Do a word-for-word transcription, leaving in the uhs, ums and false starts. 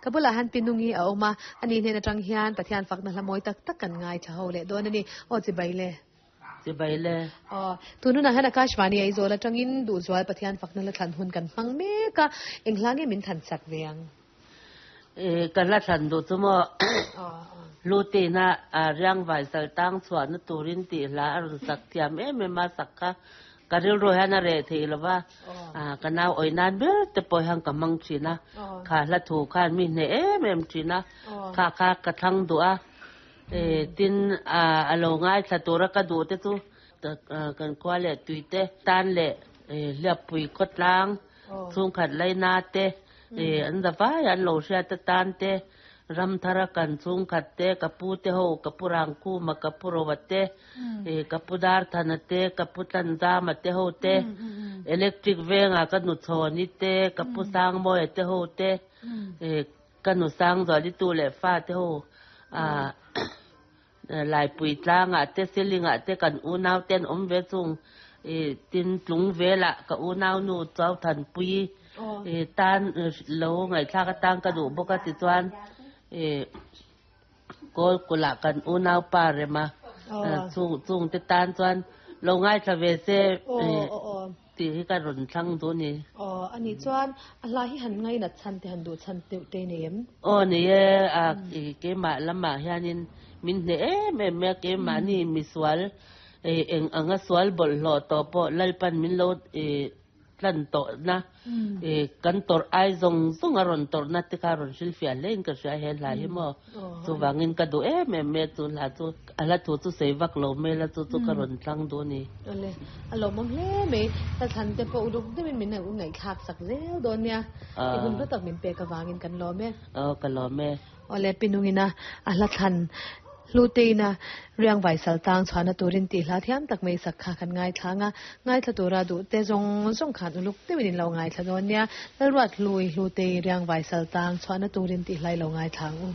Ka bulah hian Pinungi a awm a, ani hnen atang hian Pathian fakna hla mawi tak tak kan ngaithla ho leh dawn a ni. Aw chibai le. Chibai le. Aw, tun hunah hian Akashvani Aizawl atangin Duhzual Pathian fakna hla thlan hun kan hmang mek a, eng hla nge min than sak ve ang? E, ka hla thlan duh chu maw Lutina a riangvai sal tang chhuahna turin tih hla a rawn sak thiam em em a, sak kha ka rilru hian a reh theih lo va, ka nau awih nan ber te pawh hian ka hmang thin a, kha hla thu khan mi hneh em em thin a, kha kha ka thlang duh a, e, tin a lo ngaithla tura ka duh te chu kan khua leh tui te tan leh hliappui khawtlang chhungkhat laina te an zavai an lo hriat atan te, ram thara kan chhungkhat te, ka pu te ho, ka pu Rangkhuma, ka pu Roa te, ka pu Darthana te, ka pu Tlanzama te ho te, electric venga ka nu Chhawni te, ka pu Sangmawia te ho te, ka nu Sangzuali tu leh fa te ho, Laipui tlangah te, Silingah te kan unau te an awm ve chung tin tlung velah ka unau nu Chauthanpui tan lo ngaihthlak atang ka duh bawk a tichuan kawl kulh kan unau pa rema chung chung te tan chuan lo ngaithla ve se tih hi ka rawn thlang duh a ni. Aw, a nih chuan a hla hi han ngainat chhan te han duh chhan deuh te nei em? Aw ni e, a keimah lamah hianin min hneh em em mai a, keimahni misual eng anga sual bawlhhlawh tawh pawh Lalpan min lo tlan tawhna kan tawrh ai zawng zawng a rawn tawrhna te kha rawn hrilhfiah hle in ka hria he hla hi maw. Chuvangin ka duh em em mai a chu hla chu a hla thu chu sawi vak lo mai la chu chu ka rawn tlang duh a ni. Awle, a lawmawm hle mai. Hla thlan te pawh uluk deuhin min u ngaihthlak sak zel dawn nia. I hun hlu tak min pek avangin kan lawm e. Aw ka lawm e. Awle, Pinungina a hla thlan Hluteina riangvai sal tang chhuahna turin tih hla thiam tak mai sak kha kan ngaithla ang a, ngaithla tura duh te zawng zawng khan uluk deuhin in lo ngaithla dawn nia. Lalruat Hlui Hlutei riangvai sal tang chhuahna turin tih hla i lo ngaithla ang u.